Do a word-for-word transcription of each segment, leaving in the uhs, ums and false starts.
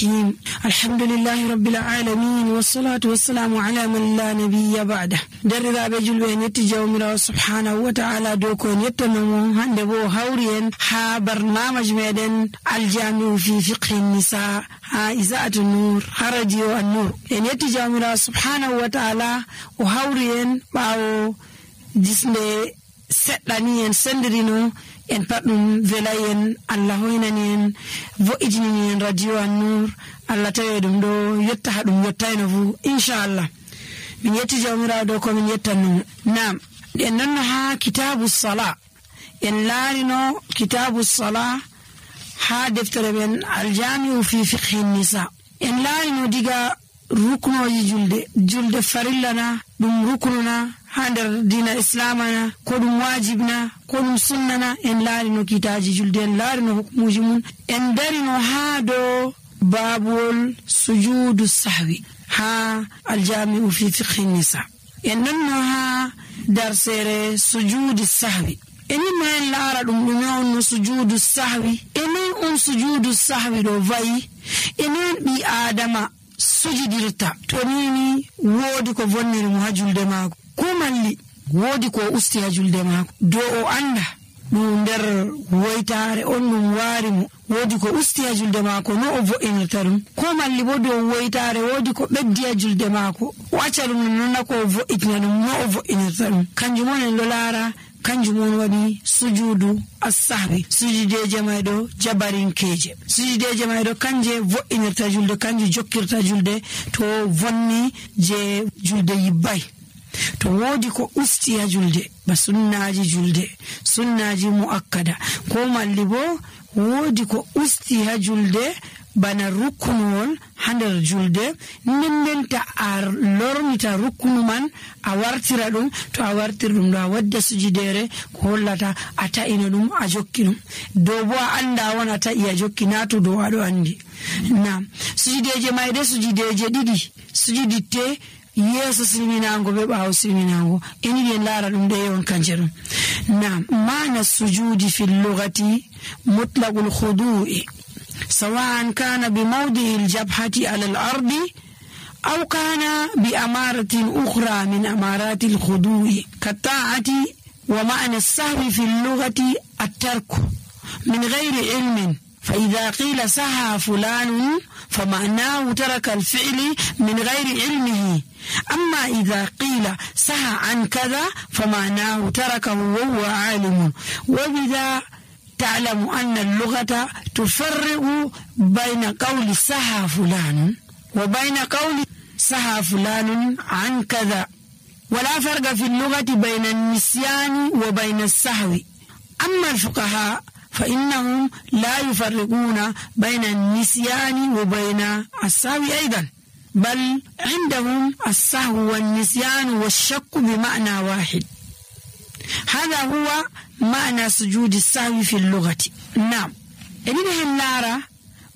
الرحيم الحمد لله رب العالمين والصلاة والسلام على من لا نبي بعده درذا بجل وين يتجاومر سبحانه وتعالى دوكون يتنمو هندبو هوريا ها برنامج ميدن الجامع في فقه النساء ها إذاعة النور راديو النور ين يتجاومر سبحانه وتعالى وهوريا باو جسم سداني en sendirino en paddum velayen Allah hoynani en vo'itini en radio an-nur Allah tawe dum do yotta hadum yottayno fu inshallah min yetti jawmiraado ko min yettanno nam en non ha kitabus sala en laarino kitabus sala ha deftere men al-jami'u fi fiqh an-nisa en laarino diga ruknoji julde julde farillana dum ruknuna hander dina islamana ko dum wajibna ko dum sunnana en laarino kitaji julde en laarino hukmuji mun en darino ha do babul sujudu sahwi ha al-jami'u fi fiqh an-nisa en nanno ha darsere sujudu sahwi eni men laara dum dum on sujudu sahwi eni on sujudu sahwi do vayi eni bi adama sujudirta to nini wodi ko vonniri mu hajulde maako ko malli wodi ko usti hajulde maako do o anda dum der woytare on dum wari mu wodi ko usti hajulde maako no o vo'inirta dum ko malli bo do woytare wodi ko beddi hajulde maako o acca dum non ko vo'itina dum no o vo'inirta dum kanjum on en do laara kanjum on wadi sujudu as-sahwi sujudeje maydo jabarinkeje sujudeje maydo kanje vo'inirta julde kanje jokkirta julde to vonni je julde yibbay to wodi ko usti ha julde ba sunnaji julde sunnaji muakkada ko malli bo wodi ko usti ha julde bana rukunol hander julde nindenta ar lormita rukunu man a wartira dum to a wartir dum do a wadda sujudere ko hollata ata ina dum a jokkinum do bo anda wona ta iya jokkina to do ado andi nam sujudeje mayde sujudeje didi sujuditte yeso silminango be baaw silminango eni be lara dum de yon kanjerum nam mana sujudi fil lughati mutlaqul khudu'i سواء كان بموضع الجبهة على الأرض أو كان بأمارة أخرى من أمارات الخضوع كالطاعة ومعنى السهو في اللغة الترك من غير علم فإذا قيل سهى فلان فمعناه ترك الفعل من غير علمه أما إذا قيل سهى عن كذا فمعناه تركه وهو عالم وبذا تعلم أن اللغة تفرق بين قول سهى فلان وبين قول سهى فلان عن كذا ولا فرق في اللغة بين النسيان وبين السهو أما الفقهاء فإنهم لا يفرقون بين النسيان وبين السهو أيضا بل عندهم السهو والنسيان والشك بمعنى واحد هذا هو معنى سجود السهو في اللغة نعم إنه اللارة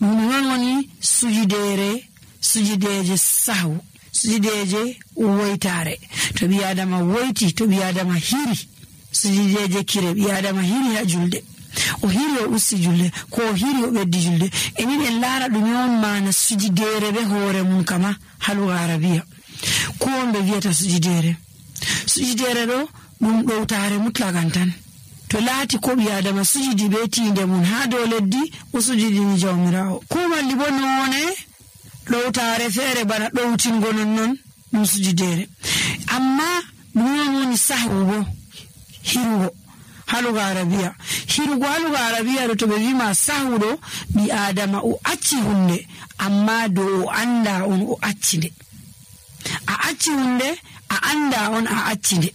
منوني سجديري سجديجي السهو سجديجي ويتاري تبي آدم ويتي تبي آدم هيري سجديجي كيري بي آدم هيري هجلد وهيري وسجلد كو هيري وبدجلد إنه اللارة دنيون معنى سجديري بهور منكما حلو عربية كون بفيتا سجديري سجديري دو dum ɗowtare mutlagan tan to laati ko ɓi adama sujudi be tinde mun ha dow leddi o sujudini jawmirawo ko malli bo none ɗowtare feere bana ɗowtingo non non ɗum sujudere amma ɗum woni sahwu bo hirugo halugo arabiya hirugo halugo arabiya ɗo to ɓe wima sahwu ɗo ɓi adama o acci hunde amma dow o anda on o acci nde a acci hunde a anda on a acci nde